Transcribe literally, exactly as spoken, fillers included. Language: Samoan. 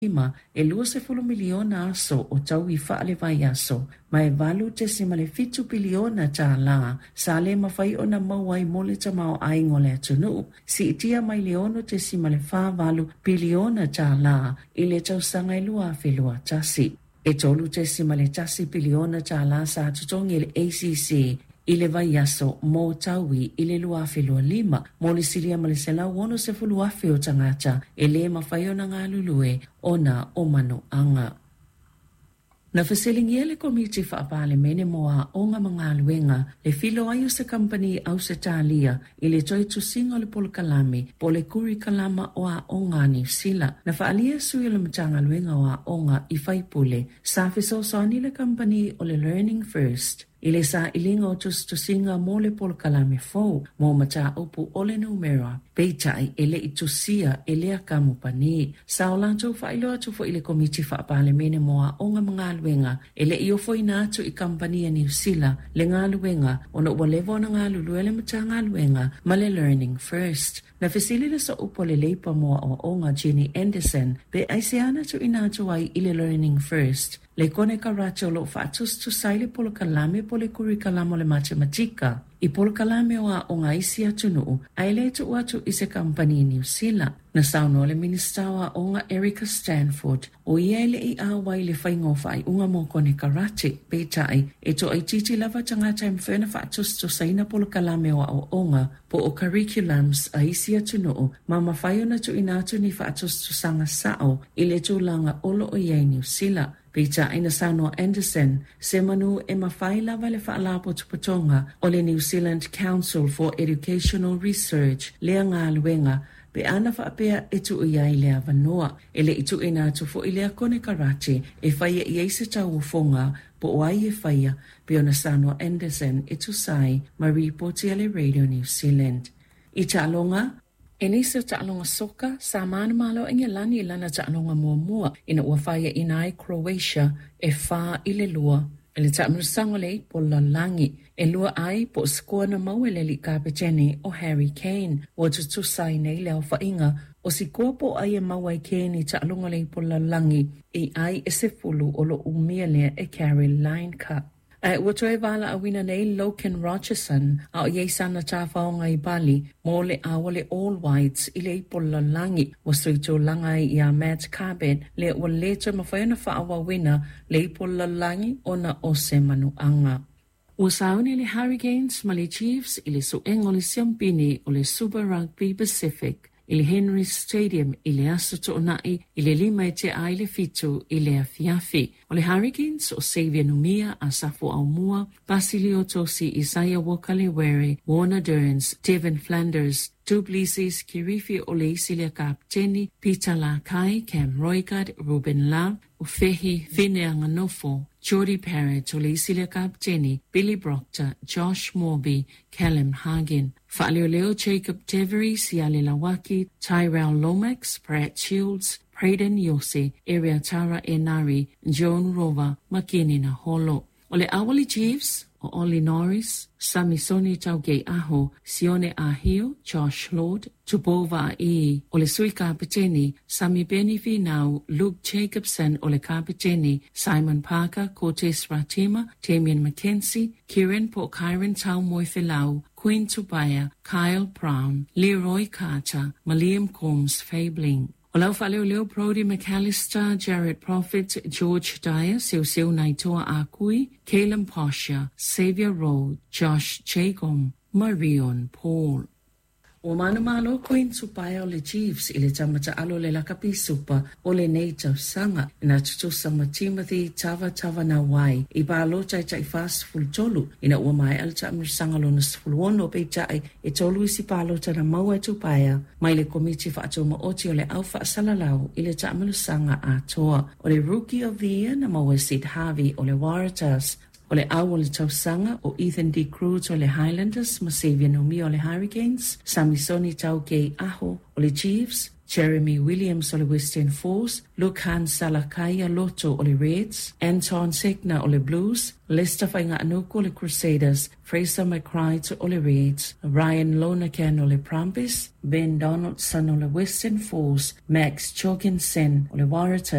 Lima, e luasefulu miliona aso o taui faalevaiaso, ma e valu tesima le fitu piliona tālā sa le mafai ona maua ai mo le tamaoaiga o le atunuu, siitia mai le ono tesima le fa valu piliona tālā i le tausaga e lua afe lua tasi. E tolu tesima le tasi piliona tālā sa totogi e le A C C i le vaiaso mo taui i le lua afe lua lima, mo le silia ma le selau ono sefulu afe o tagata e lē mafai ona galulue ona o manoaga. Na fesiligia le Komiti Faapalemene mo Aoga ma Galuega le filo ai o se kampani Ausetalia i le toe tusiga o le polokalame po o le kurikalama o aoga a Niu Sila. Na faaalia sui o le Matagaluega o Aoga i faipule sa fesoasoani le kampani o le Learning First i le sailiga o tusitusiga mo le polokalame fou mo mataupu o le numera, peitai e le'i tusia e lea kamupani. Sa o latou faailoa atu foi i le Komiti Faapalemene mo Aoga ma Galuega e le'i ofoina atu i kampani a Niu Sila le galuega ona ua leva ona galulue le Matagaluega ma le Learning First. Na fesili le sooupu a le Leipa mo Aoaoga Jenny Anderson pe aisea na tuuina atu ai i le Learning First le konekarate o loo faatusatusa ai le polokalame po le kurikalama o le matematika i polokalame o aoga a isi atunuu ae lē tuu atu i se kampani Niu Sila. Na saunoa le Minista o Aoga Erica Stanford o ia e le'i auai le faiga o faaiuga mo konekarate, peitai e toaitiiti lava tagata e mafai ona faatusatusaina polokalame o aoaoga po o curriculums a isi atunuu ma mafai ona tuuina atu ni faatusatusaga sa'o i le tulaga o loo i ai Niu Sila. Peitai na saunoa Anderson se manu e mafai lava le faalapotopotoga o le New Zealand Council for Educational Research lea galuega pe ana faapea e tuu i ai le avanoa. E le'i tuuina atu fo'i lea konekarate e faia i ai se tauofoga po o ai e faia pe ona saunoa Anderson e tusa ai ma ripoti a le Radio New Zealand. I taaloga, E nisi o taaloga soka sa manumalo Engelani i lana taaloga muamua ina ua faiaina ai Croatia e fa i le lua. I le taamilosaga o le ipu o le lalolagi, e lua ai po o sikoa na maua e le alii kapetene o Harry Kane. Ua tutusa ai nei le aofaiga o sikoa po o ai e maua ai Kane i taaloga o le ipu o le lalolagi i ai e sefulu o loo umia lea e Caroline Cup. Ae ua toe valaauina nei Logan Rogerson a o iai sana tafaoga i Bali mo le ao le All Whites i le ipu o le lalolagi. Ua sui tulaga ai iā Matt Carbet lea ua lē toe mafai ona faaauauina le ipu o le lalolagi ona o se manuaga. Ua sauni le Hurricanes ma le Chiefs i le suega o le siampini o le Super Rugby Pacific i le Henry Stadium i le aso Toonai i le lima e tea ai le fitu i le afiafi. O le Hurricanes o Xavier Numia, Asafo Aumua, Basilio Tosi, Isaiah Walker-Lewere, Warner Durns, Devin Flanders, Duplessis Kirifi o le isi lea kapteni, Peter Lakai, Cam Roigard, Ruben Love, Ufehi Fineanganofo, Jody Parrott o le isi lea kapteni, Billy Proctor, Josh Morby, Callum Hagen. Faaleoleo Jacob Devery, Siale Lawaki, Tyrell Lomax, Brad Shields, Braden Yose, Tara Enari, Joan Rova, Makini Naholo. O le Awali Chiefs, o Ollie Norris, Samisoni Taugei Aho, Sione Ahio, Josh Lord, Tupova E, o le sui kapeteni, Sami Beni Finau, Luke Jacobson o le kapeteni, Simon Parker, Cortez Ratima, Damien McKenzie, Kieran po Kyron Tau Moifelau, Queen Tubaya, Kyle Brown, Leroy Carter, Maliam Combs Fabling. O lau faaleoleo Brody McAllister, Jared Prophet, George Dyer, Seuseu Naitoa Akui, Caleb Posher, Xavier Rowe, Josh Jacom, Marion Paul. Ua manumalo Queen Tupaia o le Chiefs i le tamata'alo le lakapi supa o lenei tausaga ina tutusa ma Timothy Tavatavanawai i palota e taʻi tolu ina ua maea le taamilosaga lona sefulu ono, peitai e tolu isi palota na maua e Tupaia mai le Komiti Faatumaoti o le Au Faasalalau i le taamilosaga atoa. O le Rookie of the Year na maua e Sid Harvey o le Waratahs. O le au o le tausaga o Ethan D. Cruz o le Highlanders ma Xavier Numia o le Hurricanes, Samisoni Taukei Aho o le Chiefs, Jeremy Williams o le Western Force, Lukhan Salakaia Loto o le Reds, Anton Segner o le Blues, Lester Fainga'anuku o le Crusaders, Fraser McReight o le Reds, Ryan Lonergan o le Brumbies, Ben Donaldson o le Western Force, Max Jorgensen o le Waratahs,